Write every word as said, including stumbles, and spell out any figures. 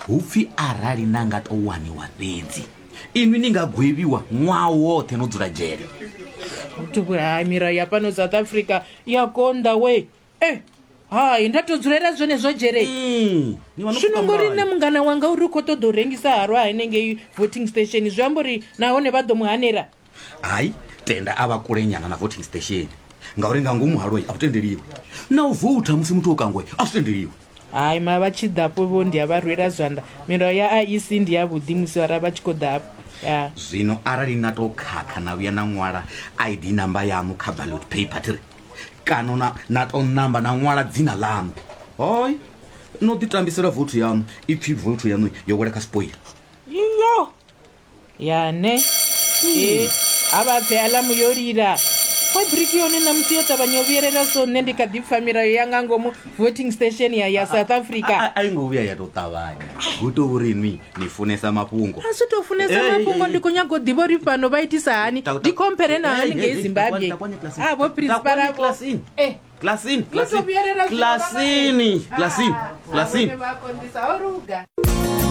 Hu pfi arali na nga tou waniwa fhedzi inwi ni nga gwevhiwa ṅwaha woṱhe no dzula dzhele. Hai, milayo ya fhano South Africa ya konḓa we. E hai, nda to dzulela zwenezwo dzhele. Mm, ni vha no Zwino pfuka ngori mulayo. Nṋe mungana wanga uri u khou ṱoḓa u rengisa halwa hanengei voting station, zwi amba uri nahone vha ḓo mu hanela. Hai, tenda a vha kulenyana na voting station, ngauri nga ngomu halwoi a vhu tendeliwi na u voutha musi muthu o kangwe, a zwi tendeliwi. Hai, ma vha tshi ḓafho vho ndi a vha rwela zwanḓa. Milayo ya I E C ndi ya vhuḓi musi vhara vha tshi khou ḓa hafho ya. Zwino arali na tou khakha na vhuya na ṅwala I D namba yaṋu kha ballot paper thiri, kana na, na tou namba na ṅwala dzina ḽaṋu, hoi no ḓi tambisela vothu yaṋu, ipfhi vothu yaṋu yo wela kha spoil. Iyo ya ne e a vha pfe aḽamu yo lila, fabriki yone ṋamusi yo ṱavhanya u vhuyelela, so nṋe ndi kha ḓi pfa milayo ya nga ngomu voting station ya ya South Africa. A i ngo vhuya ya tou ṱavhanya, hu tou uri nwi ni funesa mafhungo. A zwi tou funesa Hey, mafhungo, hey, ndi khou nyaga u ḓivha uri fhano vha itisa hani. Ta- ta- Ndi khomphere na Hey, hani ngei hey, hey, Zimbabwe. takwani klasini. A vho principal Takwani avho klasini. Eh. Klasini. Yo tou vhuyelela zwino vha- Klasini, klasini, Ah, klasini. vhone vha konḓisa, ho luga.